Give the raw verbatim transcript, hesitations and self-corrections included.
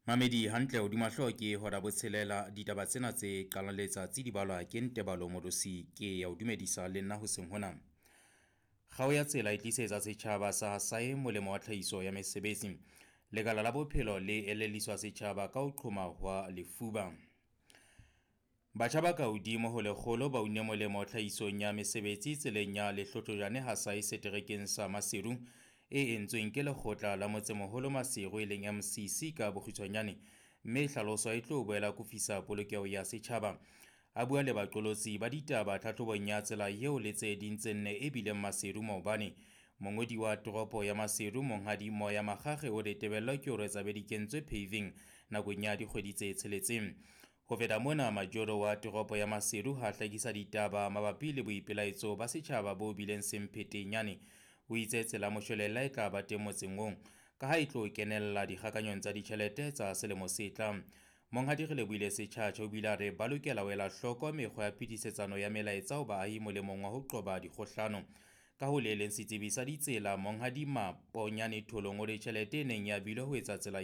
Mamedi hantle hodima hlooho ke hora botshelela. Ditaba tsena tse qalang letsatsi di balwa ke Ntebalo Modosi ke ya o dumedisa le nna hoseng hona. Kgao ya tsela e tlisetsa setjhaba sa Hasae molemo wa tlhahiso ya mesebetsi. Lekala la bophelo le elelliswa setjhaba ka ho qhoma hwa lefuba. Batjha ba ka hodimo ho lekgolo ba une molemo tlhahisong ya mesebetsi tseleng ya Lehlotlojane Hasae seterekeng sa Maseru e entsweng ke lekgotla la motsemoholo Maseru e leng M C C ka bokgutshwanyane, mme e hlaloswa e tlo boela kofisa polokeho ya setjhaba. A bua le baqolotsi ba ditaba tlhahlobong ya tsela eo le tse ding tse nne e bileng Maseru maobane, mongodi wa toropo ya Maseru Monghadi Moya Makgakge o re tebello ke hore tsa be di kentswe paving nakong ya dikgwedi tse tsheletseng. Ho feta mona, majoro wa toropo ya Maseru ha hlakisa ditaba mabapi le boipelaetso ba setjhaba bo bileng semphetenyane. O itse tsela moshwelella e tla ba teng motseng oo ka ha e tlo kenella dikgakanyong tsa ditjhelete tsa selemo se tlang. Monghadi Relebohile Setjhatjha o bile a re ba lokela ho ela hloko mekgwa ya phetisetsano ya melaetsa ho baahi molemong wa ho qoba dikgohlano. Ka ho le leng, setsebi sa ditsela Monghadi Maponyane Tholong o re tjhelete e neng e abilwe ho etsa tsela